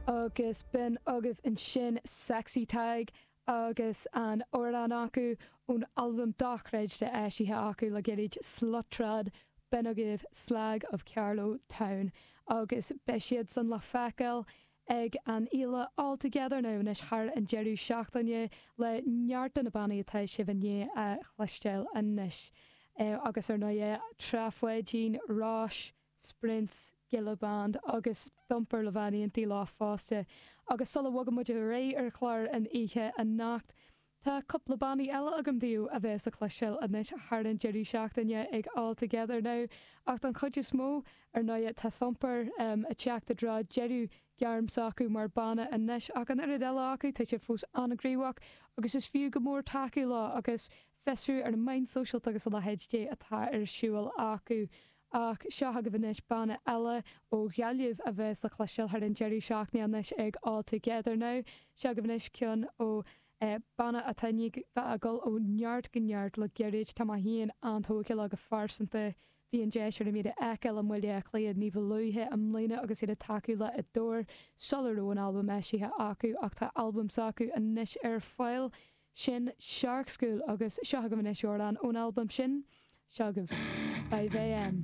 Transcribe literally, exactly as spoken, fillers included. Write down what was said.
Agus b'in agaibh ansin Sexy Tadhg agus an amhrán acu ón albam dochreidte eisithe acu le gairid Slutrod b'in agaibh Slag of Carlow Town agus beidh siad san le feiceáil ag an fhéile All Together Now anois thar an deireadh seachtaine le neart de na bannaí atá sibh i ndiaidh a chloisteáil anois. Agus ar ndóigh Trá Pháidín, Rois, Sprints, Gilla Band agus Thumper le bheith in éindí leo fosta. Agus sula bhfogann muid ar aghaidh ar chlár an oíche anocht, tá cúpla bannaí eile agam daoibh a bheas le cloisteáil anois thar an deireadh seachtaine ag All Together Now. Ach don chuid is mó, ar ndóigh, tá Thumper um, ag teacht i dtreo deireadh gairm s'acu mar banna anois ach an oiread eile acu tá siad fós an-ghníomhach agus is fiú go mór tacú leo agus fiosrú ar na meáin sóisialta agus a leithéid de atá ar siúl acu. Ach seo agaibh anois banna eile ó Ghaillimh a bheas le cloisteáil thar an deireadh seachtaine anois ag All Together Now. Seo agaibh anois ceann ó eh, banna atá bheith ag dul ó neart go neart le gairid tá mé féin an-tógtha leo go phearsanta Bhí an deis agam iad a fheiceáil i mBaile Átha Cliath ní ba luaithe i mbliana agus iad ag tacú le Adore sula raibh an albam eisithe acu ach tá albam s'acu anois ar fáil sin Shark School agus seo agaibh anois amhrán ón albam sin seo agaibh. Five AM.